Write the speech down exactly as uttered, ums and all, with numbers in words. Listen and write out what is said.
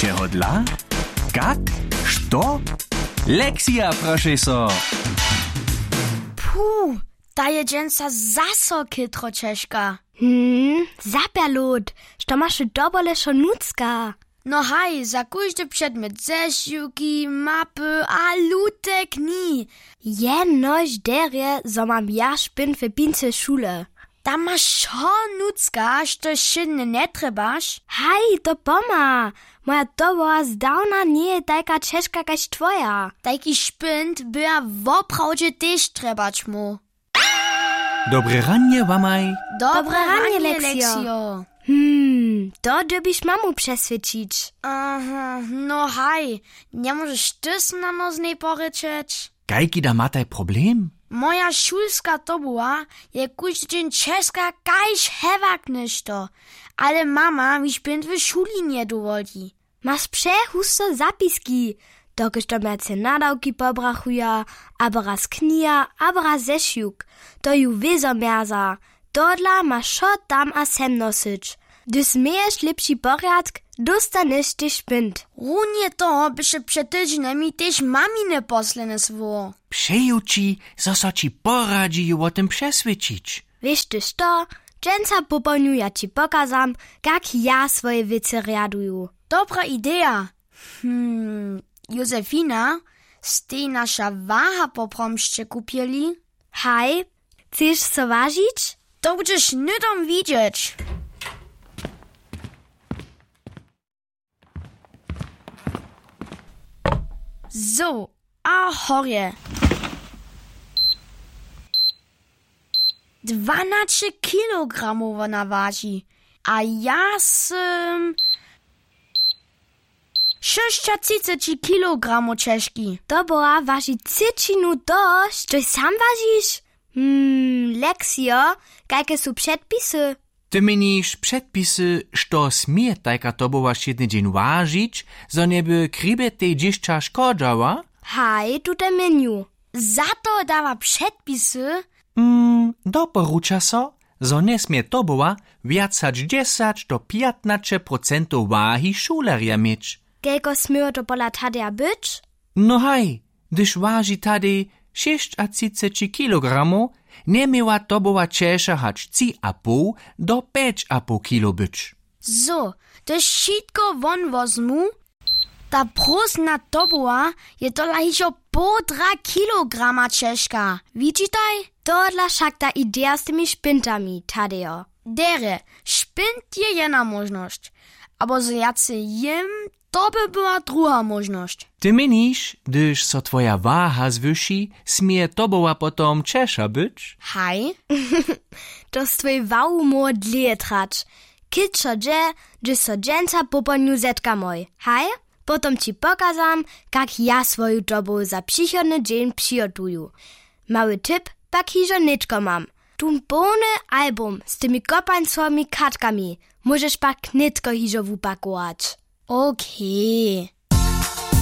Jeho dla? Kak? Što? Lexija, prošej so. Puh, ta je dźensa zaso chětro ćežka. Hm, zapjerlot, što maš w dobole wšo nutřka? No haj, za kóždy předmjet zešiwki, mapy a lute knihi. Jenož derje, zo mam ja špynt w pincy šule. Tam maš wšo nutřka, štož wšědnje njetrjebaš. Haj, to pomha. Moja toboła zdawna njeje tajka ćežka kaž twoja. Tajki špynt by ja woprawdźe tež trjebać móhł. Dobre ranje wamaj. Dobre ranje, Lexio. Hm, to dyrbiš mamu přeswědčić. Aha, no haj, njemóžeš ty snano z njej porěčeć? Kajki da mataj problem? Moja šulska toboła je kóždy dźeń ćežka kaž hewak něšto, ale mama mi špynt w šuli njedowoli. Maš přehusto zapiski, dokelž to mjerce nadawki pobrachuja, abo raz kniha, abo raz zešiwk. To ju wězo mjerza. Tohodla maš wšo tam a sem nosyć. Hdyž změješ lěpši porjadk, dóstanješ tež špynt. Runje toho běše před tydźenjemi tež mamine posledne słowo. Přeju ći, zo so ći poradźi ju wo tym přeswědčić. Wěš ty što, dźensa popołdnju ja ći pokazam, kak ja swoje wěcy rjaduju. Dobra ideja. Hm, Josefina, stej naša waha poprawom sće kupjeli? Haj, chceš so wažić? To budźeš hnydom widźeć. Zo, a horje. Dwanaće kilogramow wona waži. A ja sym šěsćatřiceći kilogramow ćežki. Toboła waži třěćinu toho, štož sam wažiš? Hm, Lexio, kajke su předpisy? Ty měniš předpisy, što smě tajka toboła wšědny dźeń wažić, zo njeby k hribjetej dźěsća škodźała? Haj, tute měnju. Za to dawa předpisy? Hm, doporuča so, zo njesmě toboła wjac hač dźesać do pjatnaće procentow wahi šulerja měć. Kelko směło to pola Tadeja być? No haj, hdyž waži Tadej šěsćatřiceći kilogramow, njeměła toboła ćeša hač tři a poł do pjeć a poł kilo być. Zo, hdyž wšitko won wozmu, ta prózdna toboła je tola hižo połdra kilograma ćežka. Widźitaj? Tohodla wšak ta ideja z tymi špyntami, Tadejo. Derje, špynt je jedna móžnosć. Abo zo wjace jěm, to by była druha móžnosć. Ty měniš, hdyž so twoja waha zwyši, směje toboła potom ćeša być? Haj. To z twojej wahu móhło dlěje trać. Kětšo dźe, hdyž so dźensa popołdnju zetkamoj, haj? Potom ći pokazam, kak ja swoju tobołu za přichodny dźeń přihotuju. Mały tip pak hižo nětko mam. Tu połny album z tymi kopańcowymi kartkami, móžeš pak nětko hižo wupakować. Okej.